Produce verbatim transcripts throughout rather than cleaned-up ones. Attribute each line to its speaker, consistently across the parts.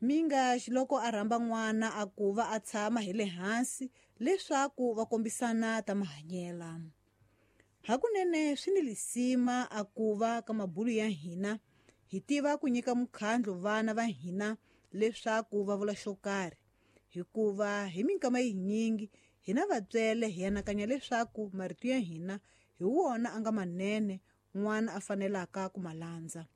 Speaker 1: Mingaxi loko a rhamba n'wana a ku va a tshama hi le hansi leswaku va kombisana ta mahanyela. Hakunene swi ni lisima a ku va ka mabulu ya hina hi tiva ku nyika mukhandlu vana va hina leswaku va vula xo karhi, hikuva hi minkama yinyingi hina vatswele hi anakanya leswaku marito ya hina hi wona a nga manene n'wana a fanelaka ku ma landza.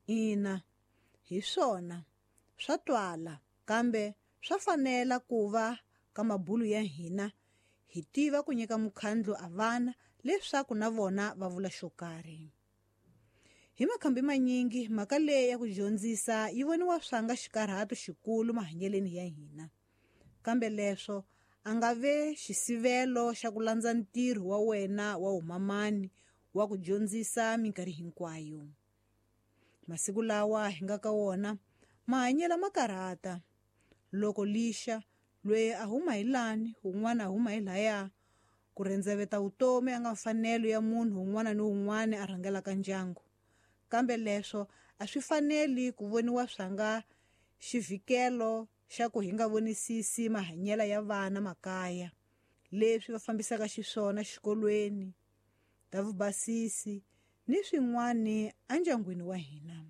Speaker 1: Ina, hi swona swa twala, kambe swa fanela ku va ka mabulu ya hina hi tiva ku nyika mukhandlu a vana leswaku na vona va vula xo karhi. Hi makhambi manyingi mhaka leyi ya ku dyondzisa yi voniwa swanga xikarhato xikulu mahanyeleni ya hina, kambe leswo a nga ve xisivelo xa ku landza ntirho wa wena wa umamani wa ku dyondzisa minkarhi hinkwayo. Masiku lawa hi nga ka wona mahanyelo ma karhata. Loko lixa loyi a huma hi lani un'wana a huma hi laya, ku rendzeveta vutomi a nga mfanelo ya munhu un'wana ni un'wana a rhangelaka ndyangu. Kambe leswo a swi faneli ku voniwa swanga xivhikelo xa ku hi nga vonisisi mahanyelo ya vana makaya, leswi va fambisaka xiswona xikolweni, ta vubasisi ni swin'wana endyangwini wa hina.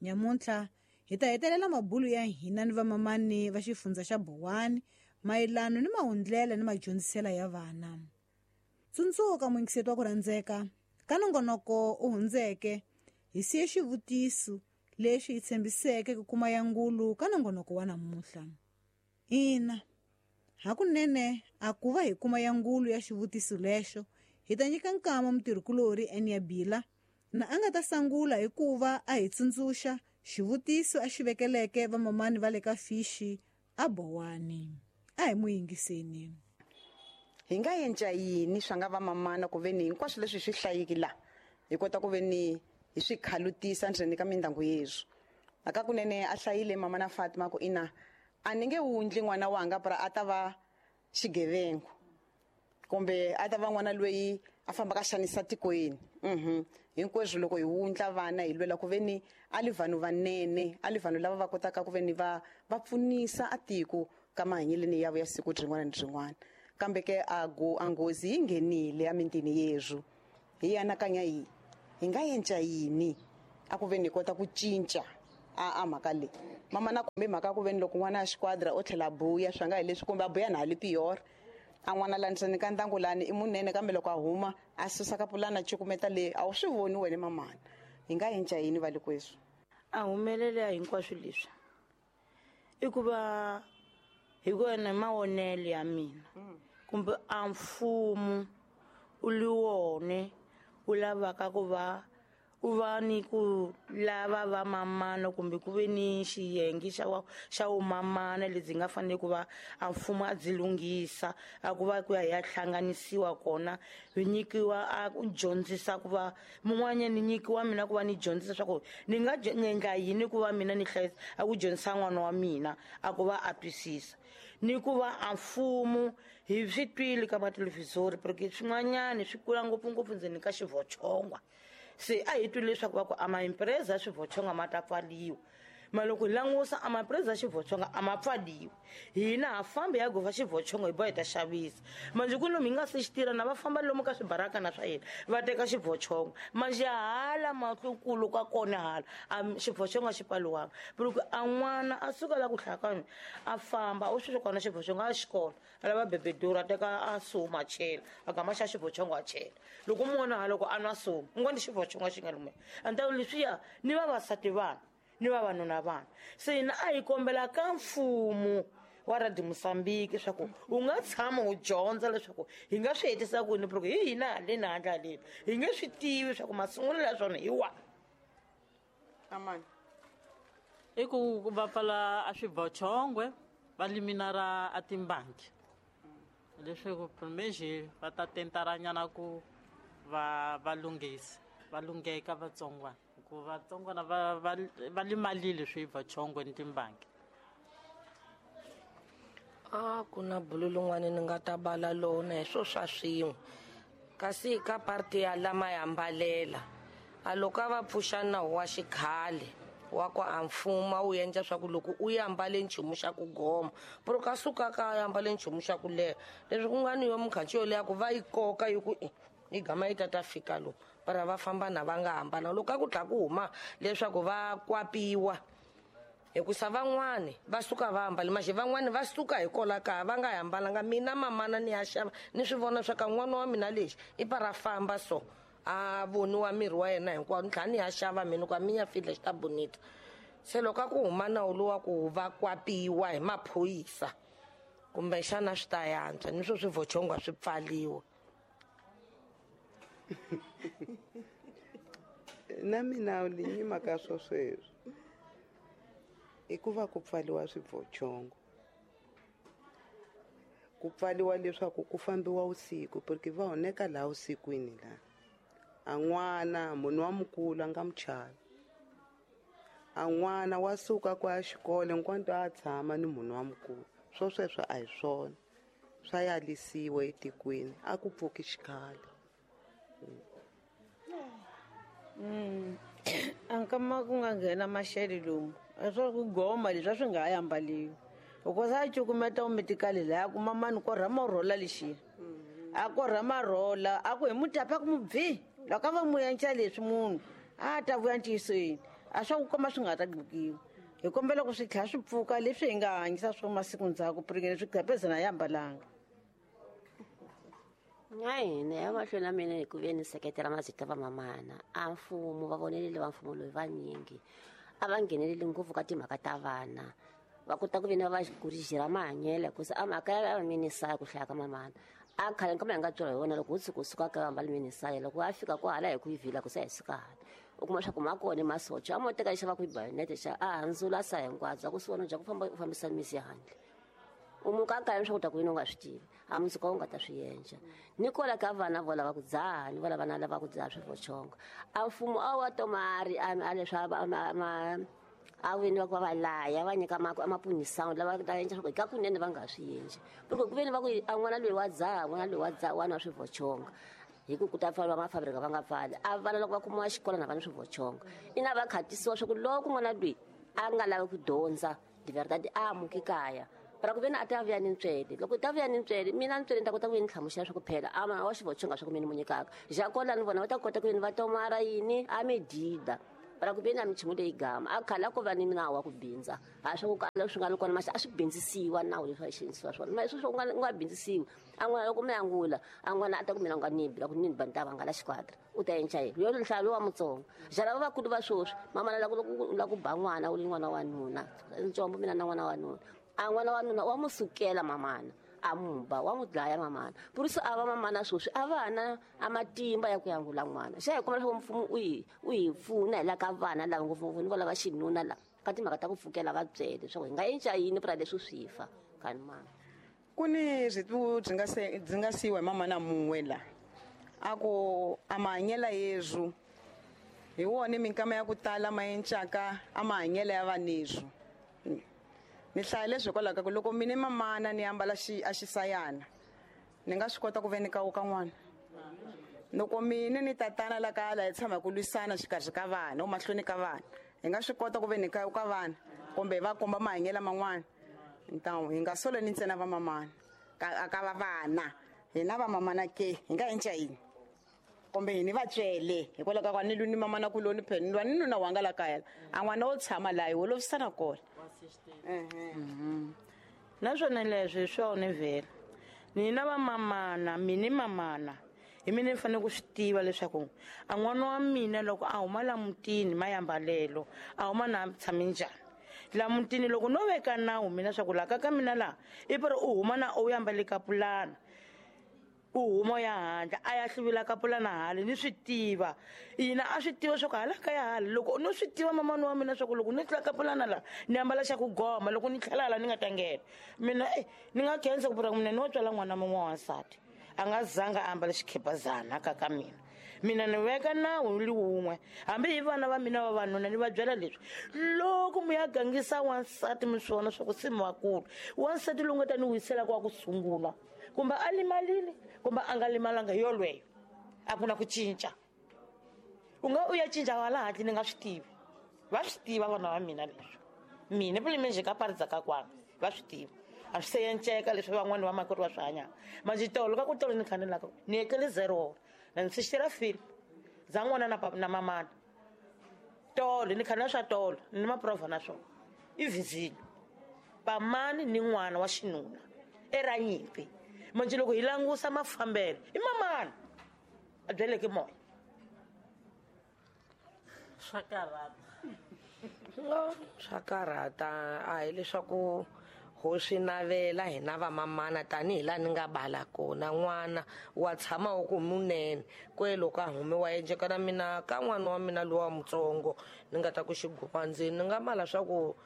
Speaker 1: Nyamuntlha hi ta hetelela mabulu ya hina ni vamamani va xifundza xa Bowani mayelana ni mahundlela ni madyondzisela ya vana. Tsundzuka muyingiseti wa ku rhandzeka, ka nongonoko u hundzeke hi siye xivutiso lexi hi tshembiseke ku kuma ya ngulu ka nongonoko wa namuntlha. Ina, hakunene a ku va hi kuma ya ngulu ya xivutiso lexo, hi ta nyika nkama mutirhikulori Enia Bila na a nga ta sangula hikuva a hi tsundzuxa xivutiso a xi vekeleke vamamani va le ka Fishi a Bowani. A hi mu yingiseni.
Speaker 2: Hi nga endla yini swa nga vamamana ku ve ni hinkwaswo leswi swi hlayiki la hi kota ku ve ni hi swi khalutisa ndzeni ka mindyangu yeswo. Aka kunene a hlayile mama na Fatima ku ina a ni nge wundli n'wana wanga pra a ta va xigevenga kumbe a ta va n'wana loyi a fambaka xanisa tikweni. Mhm. Hinkwaswo loko hi wundla vana hi lwela ku ve ni a li vanhu vanene, a li vanhu lava va kotaka ku ve ni va va pfunisa a tiko ka mahanyeleni yavo ya siku rin'wana ni rin'wana. Kambe ke a go a nghozi yi nghenile emintini yeswo. Hi anakanya yi hi nga endla yini a ku ve ni kota ku cinca a a mhaka leyi. Mama na kumbe mhaka ku ve ni loko n'wana a xiquadra o tlhela buya swa nga hi leswi kumbe a buya na hali pior. A n'wana la ndzeni ka ndyangu lani i munene, kambe loko a huma a susa ka pulana cukumeta leyi a wu swi voni wena mamana. Hi nga endla yini va le kweswo?
Speaker 3: A humelela hinkwaswo leswi i ku va hi ku ena mavonelo ya mina kumbe a mfumo u li wone u lavaka ku va u va ni ku lava va mamana kumbe ku ve ni xiyenge xa wa, xa vumamana lebyi nga fanele ku va a mfumo a byi lunghisa, a ku va ku ya hi ya hlanganisiwa kona, hi nyikiwa a ku dyondzisa ku va mun'wanyana ni nyikiwa mina ku va ni dyondzisa swa ku ni nga ni endla yini ku va mina ni hlayisa a ku dyondzisa n'wana wa mina a ku va a twisisa. Ni ku va a mfumo hi swi twile ka mathelevhizori porque swin'wanyana swi kula ngopfungopfu ndzeni ka xivochongwa. Se a hi twile leswaku va ku a maimpreza ya swivochonga ma ta pfaliwa. Ma loko hi langusa a maimpreza ya xivochonga a ma pfaliwi, hina ha fambi hi ya gova xivochonga hi boha hi ta xavisa. Manjhe ku lomu hi nga se xi tirha na va famba lomu ka swibarakana swa hina va teka xivochonga. Manjhe hala mahlukulu ka kona hala a xivochonga xi pfaliwanga. Loko a n'wana a suka la ku hlakana a famba u swi kona xivochonga a xikolo a lava bebedura a teka a suma a chela a gama xa xivochonga a chela. Loko u mona loko a nwa suma u ngo ni xivochonga xi nga lume. A ni ta leswiya ni vavasati vana ni vavanuna vana. Se hina a hi kombela ka mfumo wa Radio Mozambique leswaku u nga tshama u dyondza leswaku hi nga swi hetisa ku yini, porque hi hina haleni handle haleni hi nge swi tivi leswaku masungulo ya swona hi wahi.
Speaker 2: Amani.
Speaker 4: I ku va pfala a swivochongwe va liminara a timbangi leswaku primeji va ta tentaranyana ku va va lunghisa va lungheka vatsongwana, ku vatsongwana va va va limalile swivochongwe ni timbangi.
Speaker 5: A ku na bulu lin'wana ni nga ta bala lona hi swo swa swin'we, kasi ka parti ya lama ya mbalela a loko a va pfuxa nawu wa xikhale Wa ku a mfumo a wu endla swa ku loko u ya ambale nchumu xa ku goma pero ka suka ka ya ambale nchumu xa ku leha leswi ku nga ni yo mukhanci yo leha ku va yi koka yi ku yi gama yi tata fika lomu para va famba na va nga hambana loko a ku tlha ku huma leswaku va kwapiwa hikusa van'wani va suka va ambale maxi van'wani va suka hi kola kaya va nga hambalanga mina mamana ni ya xava ni swi vona swa ka n'wana wa mina lexi i para famba so a voniwa miri wa yena hinkwawo ni tlhela ni ya xava mina ku a mi ya fidla xi ta bonita se loko a ku huma nawu lowa ku va kwapiwa hi maphorisa kumbexana swi ta yantswa ni swo swivochongo swi pfaliwa.
Speaker 6: Na mina ni nyima ka swo sweswo i ku va ku pfaliwa swivochongo ku pfaliwa leswaku ku fambiwa usiku porque va honeka laha usikwini laha a n'wana munhu wa mukulu a nga muchavi a n'wana wa suka ku ya xikolo hinkwanto a tshama ni munhu wa mukulu swo sweswo a hi swona swa yalisiwa etikweni a ku pfuki xikhale.
Speaker 3: A nkama ku nga nghena maxele lomu a swa ku goma leswi a swi nga ha ambaliwi hikuva a cukumeta umitikali laya kuma mani korha marhola lexiya a korha marhola a ku hi mutapa ku mubvi loko a va mu endla leswi munhu a ta vuya ntiyisweni a swa ku komba swi nga ta gqikiwa hi kombela ku swi tlhela swi pfuka leswi hi nga hanyisa swo masiku ndzhaku purikeni swi gqepezana ya ambalanga.
Speaker 7: Na hina ya mahlweni ya mina hi ku ve ni seketela mazita va mamana a mfumo va vonelile va mfumo loyi vanyingi a va ngheneleli ngopfu ka timhaka ta vana va kota ku ve ni va kurijira mahanyelo hikusa a mhaka ya va minisaya ku hlaya ka mamana a khale nkama hi nga byela hi wona loko ho tshuka u suka ka va mbali minisaya loko a fika kwahala hi ku yi vhila ku se hi suka hala u kuma swa ku ma kona masocha a mo teka lexi va ku yi bayonete xa a handzula sa hinkwabyo a ku swi vona bya ku famba u fambisa misi ya handle u muka kaya leswaku ta ku yini u nga swi tivi a mundzuku u nga ta swi endla ni kola ka vana vo lava ku dzaha ni vo lava na lava ku dzaha swivochongo a mfumo a wa tomari a a leswi a ma a vini va ku va va laya va nyika mapunisano lava ta endla swa ku ka kunene va nga swi endli loko ku veni va ku a n'wana loyi wa dzaha n'wana loyi wa dzaha wa nwa swivochongo hi ku ku ta pfariwa mafabrika va nga pfali a vana loko va kumiwa xikolo na vana swivochongo ina va khatisiwa swa ku loko n'wana loyi a nga lavi ku dyondza divertati a amuki kaya para ku veni a ta vuya ni ntswele loko ta vuya ni ntswele mina ntswele ni ta kota ku yini hlamusela swa ku phela a wa xivochonga swa ku mina ni mu nyikaka ja kola ni vona va ta kota ku yini va tomara yini a medida para ku veni a michumu leyi gama a khale a ko va ni nawu wa ku bindza a swa ku kala swi nga ri kona maxi a swi bindzisiwa nawu leswi a xinisiwa swona ma sweswo u nga u nga bindzisiwi a n'wana loko mi angula a n'wana a ta ku mina u nga ni bi la ku ni ba ni ta vangala xikwatra u ta endla yini yo nhlayo wa mutsongo ja lava vakulu va sweswi mamana la ku la ku ba n'wana u li n'wana wa nuna ntsombo mina na n'wana wa nuna a n'wana wa nuna wa mu sukela mamana a mu ba wa mu dlaya mamana purisi a va mamana sweswi a va na a matimba ya ku yangula n'wana xa hi kuma leswaku mfumo u hi u hi pfuna hi la ka vana lava ngopfungopfu ni vo lava xinuna lava ka timhaka ta ku pfukela va byele leswaku hi nga endla yini pura leswi swi fa kani mama
Speaker 2: ku ni byi byi nga se byi nga siyiwa hi mamana mun'we la a ku a mahanyelo yezwu hi wona minkama ya ku tala ma encaka a mahanyelo ya vanezwu ni hlaya leswi hikwalaho ka ku loko mina mamana ni ambala xi a xisayana ni nga swi kota ku ve ni kawuka n'wana loko mina ni tatana la kaya la hi tshama hi ku lwisana xikarhi ka vana mahlweni ka vana hi nga swi kota ku ve ni kawuka vana kumbe hi va komba mahanyelo man'wana ntawu hi nga soleni ntsena va mamana ka ka va vana hina va mamana ke hi nga endla yini kumbe hini va tswele hikwalaho ka ku a ni lwi ni mamana kuloni phela ni lwa ni nuna wanga la kaya a n'wana wo tshama laha hi holovisana kona.
Speaker 3: Naswona leswi hi swona vhela nina va mamana mini mamana hi mina ni fanele ku swi tiva leswaku a n'wana wa mina loko a huma la mutini mayambalelo a huma na tshame njhani la mutini loko no veka nawu mina swa ku la ka ka mina laha i pari u huma na u yambale kapulana u huma ya handle a ya hluvula kapulana hale ni swi tiva yina a swi tiva swa ku hala ka ya hale loko no swi tiva mamani wa mina swa ku loko ni tlula kapulana la ni ambala xa ku goma loko ni tlhela hala ni nga ta nghena mina e ni nga khensa ku pura mina ni wo tswala n'wana mun'we wa wansati a nga zanga a ambala xikhepazana ka ka mina mina ni veka nawu li wun'we hambi hi vana va mina vavanuna ni va byela leswi loko mi ya gangisa wansati mi swi vona swa ku se mi vakulu wansati lowu nga ta ni wiselaka wa ku sungula kumbe a limalile kumbe a nga limalanga hi yolweyo a ku na ku cinca u nga u ya cinca wala hatli ni nga swi tivi Va swi tiva vana va mina leswi. Mina pulime ka paridza ka kwana va swi tiva. A swi se enceka leswi van'wani va makwerhu va swi hanyaka. Manjhe tolo ka ku tolo ni khanelaka ni etlele zero na ni swixela film za n'wana na na mamana. Tolo ni khanela swa tolo ni maprova na swona. I vizile. Pamani ni n'wana wa xinuna era nyimpi. Manjhe loko hi langusa mafambelo i mamana a byeleke moya.
Speaker 4: Swa karhata.
Speaker 5: No, swa karhata a hi leswaku ho swi navela hina vamamana tanihi laha ni nga bala kona n'wana wa tshama wu ku munene kwe loko a humiwa enceka na mina ka n'wana wa mina lowa mutsongo ni nga ta ku xigupa ndzeni ni nga mala swa ku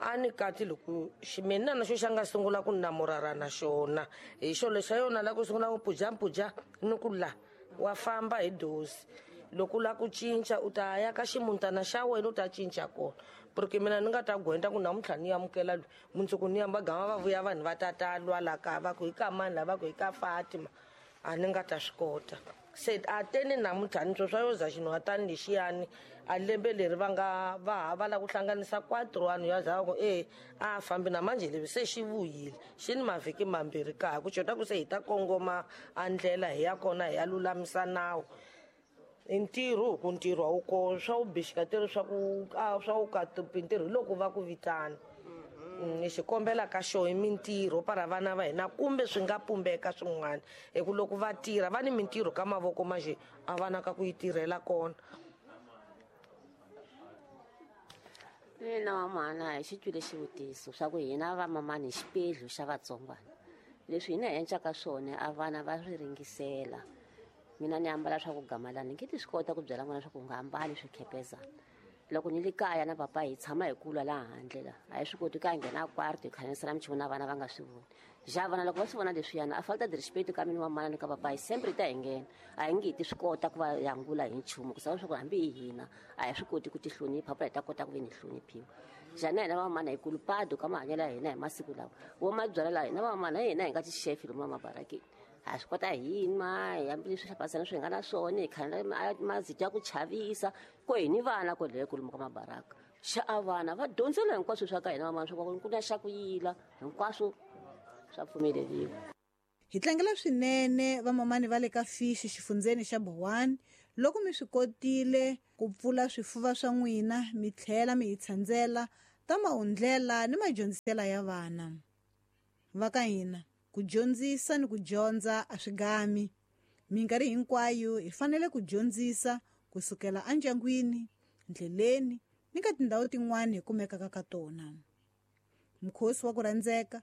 Speaker 5: a ni kati loko ximina na xo xa nga sungula ku namurara na xona hi xo lexa yona la ku sungula ku pujapuja ni ku la wa famba hi dosi loko la ku cinca u ta ya ka ximuntana xa wena u ta cinca kona porque mina ni nga ta gwenda ku namuntlha ni amukela loyi mundzuku ni yamba gama va vuya vanhu va tata lwa la ka va ku hi ka mani lava ku hi ka Fatima a ni nga ta swi kota se a teni namuntlha ni swo swa yo za xinhwatani lexiyani a lembe leri va nga va ha va la ku hlanganisa quatro vanhu ya za ku e a fambi na manje leswi se xi vuyile xi ni mavhiki mambirhi kaya ku cota ku se hi ta kongoma a ndlela hi ya kona hi ya lulamisa nawu. I ntirho ku ntirho a wu kona swa wu bixika tirhi swa ku a swa wu ka ntirho hi loko va ku vitana ni xi kombela ka xo hi mintirho para vana va hina kumbe swi nga pumbeka swin'wana hi ku loko va tirha va ni mintirho ka mavoko manjhe a va na ka ku yi tirhela kona.
Speaker 7: Mina mamana hi xi twile xivutiso swa ku hina vamamani hi xipedlu xa vatsongwana leswi hina hi encaka swona a vana va swi ringisela. Mina ni ambala swa ku gamalana ni nge ti swi kota ku byela n'wana swa ku u nga ambali swikhepezana. Loko ni le kaya na papa hi tshama hi kula laha handle la a hi swi koti ka nghena kwarto hi khanisela minchumu na vana va nga swi voni. Ja vana loko va swi vona leswiyana a falta de respect ka mina wa mana ni ka papa hi sempre ta hi nghena a hi nge ti swi kota ku va yangula hi nchumu ku sava swa ku hambi hi hina a hi swi koti ku ti hlonipha pa hi ta kota ku ve ni hloniphiwa. Ja na hina vamamana hi kulupado ka mahanyelo ya hina hi masiku lawa wo mabyala laha hina vamamana hi hina hi nga tixefi lomu mabarakeni. A swi kota hi nwa hi hambileswi hlapasana swi nga na swona hi khanela mazito ya ku chavisa ko hi ni vana ko leyo kulumu ka mabaraka xa a vana va dyondzela hinkwaswo swa ka hina vamana swa ku na xa ku yila hinkwaswo swa pfumeleriwa.
Speaker 1: Hi tlangela swinene vamamani va le ka Fishi xifundzeni xa Bowani loko mi swi kotile ku pfula swifuva swa n'wina mi tlhela mi hi tshandzela ta mahundlela ni madyondzisela ya vana va ka hina. Ku dyondzisa ni ku dyondza a swi gami. Minkarhi hinkwayo hi fanele ku dyondzisa kusukela endyangwini, ndleleni ni ka tindhawu tin'wana hi kumekaka ka tona. Mukhosi wa ku rhandzeka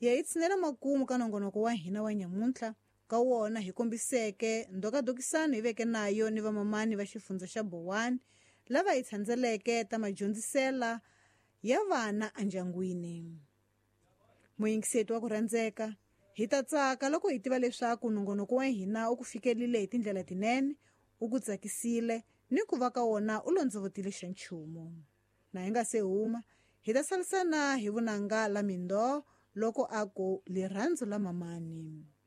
Speaker 1: ya hi tshinela makumu ka nongonoko wa hina wa nyamuntlha ka wona hi kombiseke ndokadokisano hi veke nayo ni vamamani va xifundza xa Bowani lava hi tshandzeleke ta madyondzisela ya vana endyangwini. Muyingiseti wa ku rhandzeka hi ta tsaka loko hi tiva leswaku nongonoko wa hina u ku fikelile hi tindlela tinene, u ku tsakisile ni ku va ka wona u londzovotile xa nchumu. Na hi nga se huma hi ta salisana hi vunanga la mindoo loko a ku lirhandzu la mamani.